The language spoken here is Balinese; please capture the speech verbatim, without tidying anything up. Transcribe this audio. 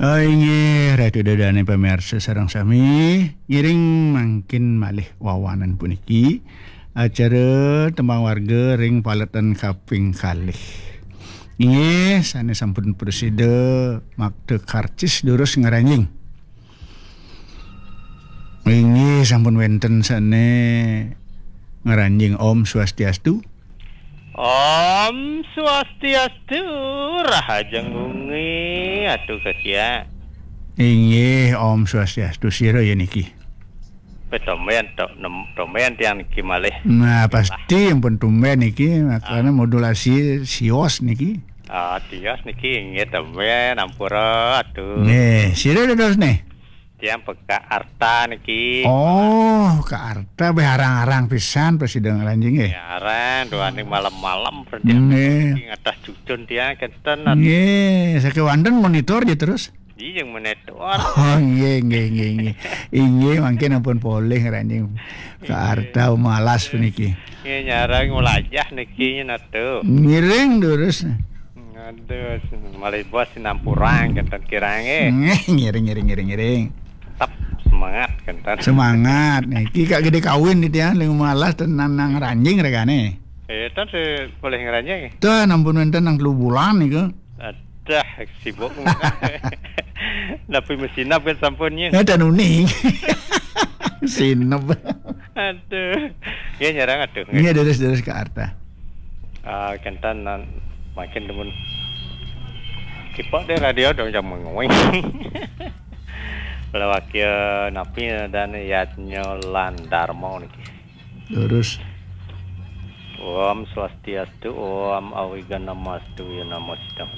Ah, inggih, Ratu Dadane pamirsa sareng sami, ngiring mangkin malih wawanan puniki acara Tembang Warga ring paletan kaping kalih. Inggih, sane sampun prasida makta karcis durus ngranjing. Inggih, sampun wenten sane ngranjing. Om Swastiastu. Om Swastiastu, rahajeng wengi, atuh Kak Sia. Inggih, Om Swastiastu, sira ya niki? Pe tumben, to-, nem-, tumben tiang niki malih. Nah, pasti ampun tumben niki, makana modulasi sios niki. Ah, tios niki inggih tumben, ampura, atuh. Nggih, sira dados nih? Tiang peka arta niki. Oh, ka arta, be arang-arang pisan prasida ngranjing, nggih. Ya, arang, duaning malam-malam, nggih. Niki ngatah cucun tiang kenten, atuh. Nggih, sakewanten monitor ya terus? Iya, yang monitor. Oh, nggih, nggih, nggih, nggih. Inggih, mangkin ampun polih ngranjing. Ka arta malas puniki. Nggih, nyarang nglajah niki, atuh. Ngiring durus. Aduh, malih bos sinampurang kenten kirang, eh. Ngiring, ngiring, ngiring, ngiring. Tetap semangat kenten. Semangat. Niki Kak Gede kawin niki ya, ling malas tenan nang ranjing regane. Eh, tan se-, boleh ngranjing. Tuh, ampun wenten nang telu bulan niku. Adah, sibuk. Tapi mesinap kan sampunnya. Ada nuning. Sinep. Aduh. Nggih, nyarang, aduh. Nggih, deres-deres ka arta. Ah, kenten nan makin demen. Kipok deh radio dong, jam menguing. Lawakya napi dan Yadnya lan Darma niki. Terus. Om Swastiastu, Om Awighnamastu, ya namo sidang.